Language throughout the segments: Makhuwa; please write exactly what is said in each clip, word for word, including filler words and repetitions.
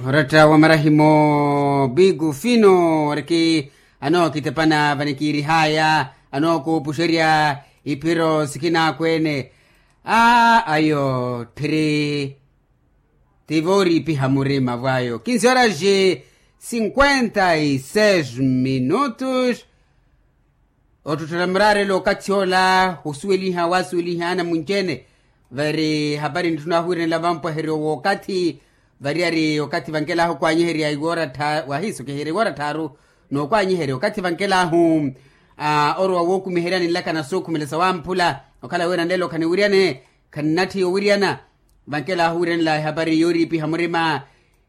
Oratta wa marahimo bigufino oriki anookitepana vanikiirihaya anookuupuxerya iphiro sikinaakweene. Aa ayo tthiri ti vooriipiha murima vwayo kinsi oraxi cinquenta y seis minutos. Ottottela muraarelo okathi ola osuweliha wasuweliha anamunci-ene. Vari hapari nitthuna wahuwiranela vampwaheryo wookathi. Variyari okathi vankelahu okwaanyiherya iwoora tthaaru wahiisokeherya iwoora tthaaru nookwaanyiherya okathi vankelahu. Orowa wookumiheryani nlaka na sookhumela sawamphula okhala wira nlelo khaniwiryane. Khannatthi owiryana. Vankelahu owiranela ehapari yooriipiha murima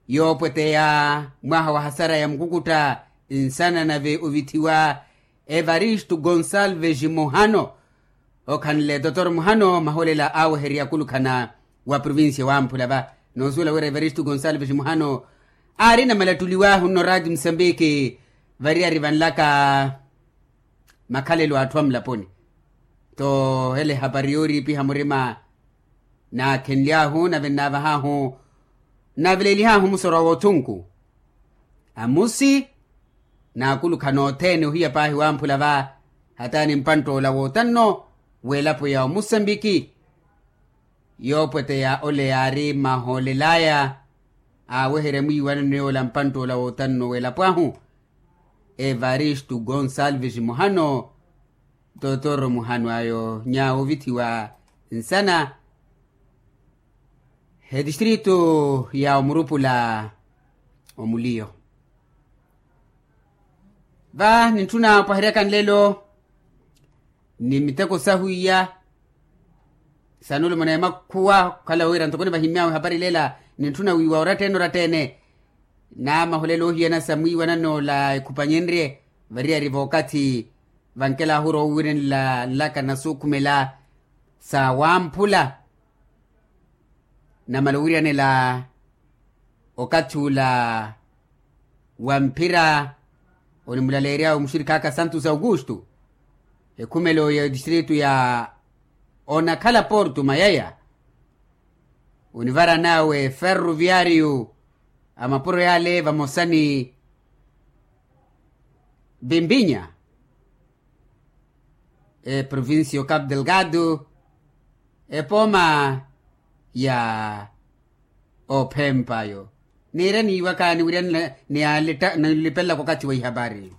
yoopweteya mwaha wa hasara ya mukukutta nsana nave ovithiwa evaristo gonsalves muhano. Okhanle totor muhano maholela aaweherya akulukhana wa provincia wamphula va noosuwela wira evaristo gonsalves muhano aarina malattuliwaahu nno raati musambiki. Variyari vanlaka makhalelo a atthu a mulaponi. Toohela ehapari yooriipiha murima naakhenly'ahu nave nnaavah'ahu nnaaveleelih'ahu musorwa w'othunku amusi. Naakulukhana othene ohiya paahi wamphula va hataani mpantt'ola wootanno w'elapo ya omusambiki. Yoopweteya ole yaari mahoolel'aya aaweherya mwiiwanano yoola mpantt'ola wootanno w'elapo ahu evaristo gonsalves muhano. Totoro muhano ayo nyaawo ovithiwa nsana etistritu ya omurupula omuliyo. Va nintthuna opwaheryaka nlelo ni miteko sahu iya sanulumana ya makhuwa okhala wira ntoko nivahimmy'awe ehapari lela. Nintthuna wiiwa oratta-ene oratta-ene na maholela oohiyana sa mwiiwanano ola ekhupanyenrye variyari vookathi vankelahu orowa owiranela nlaka na sookhumela sa wamphula. Namala owiryanela okathi ula wa mphira onimulaleery'awe muxirikhaaka santos augusto ekhumelo ya etistritu ya onakhala porto mayaya onivaran'awe ferroviario a mapuro yale vamosa ni bimbinya eprovincia o capo delgado epooma ya ophempa ayo. Niire niiwaka niwiryanela niyalipelelaka okathi wa ihapari.